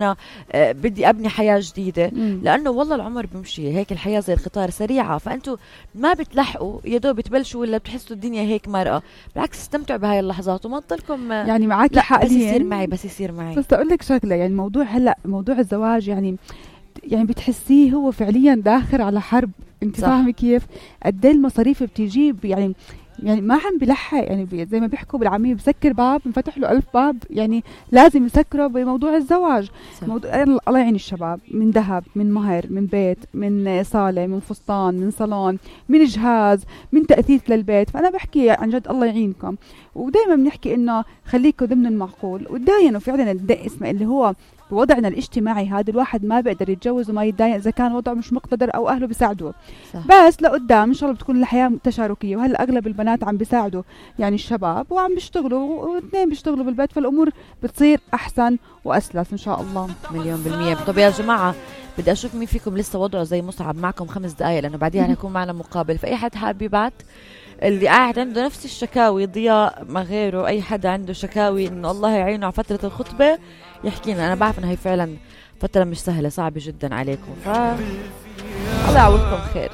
أنا بدي أبني حياة جديدة. لأنه والله العمر بمشي هيك، الحياة زي القطار سريعة، فأنتوا ما بتلحقوا يدو بتبلشوا ولا بتحسوا الدنيا هيك مرقة. بالعكس استمتعوا بهاي اللحظات وما تضلكم يعني معك حق. بس يصير معي بس يصير معي. بس أقول لك شغلة، يعني موضوع هلأ موضوع الزواج يعني بتحسيه هو فعليا داخل على حرب. انت فاهمة كيف قد ايه المصاريف بتجيب؟ يعني ما عم بلحق، يعني زي ما بيحكوا بالعامية بسكر باب انفتح له 1000 باب، يعني لازم يسكره بموضوع الزواج. الله يعين الشباب، من ذهب، من مهر، من بيت، من صالة، من فستان، من صالون، من جهاز، من تأثيث للبيت. فأنا بحكي عن جد الله يعينكم، ودايما بنحكي إنه خليكم ضمن المعقول. ودايما فعلا اسمه اللي هو بوضعنا الاجتماعي هذا الواحد ما بيقدر يتجوز وما يتدين إذا كان وضعه مش مقتدر أو أهله بيساعدوه. بس لقدام إن شاء الله بتكون الحياة تشاركية، وهلا أغلب البنات عم بيساعدوا يعني الشباب وعم بيشتغلوا، واثنين بيشتغلوا بالبيت، فالأمور بتصير أحسن وأسلس إن شاء الله. 100%. طب يا جماعة بدي أشوف مين فيكم لسه وضعه زي مصعب. معكم 5 دقايق لأنه بعدين هيكون معنا مقابل. فأي حد حابب يبعت، اللي قاعد عنده نفس الشكاوي، ضياء ما غيره، أي حد عنده شكاوي إنه الله يعينه على فترة الخطبة يحكينا. أنا بعرف إنه هي فعلا فترة مش سهلة، صعبة جدا عليكم، الله يعوضكم خير.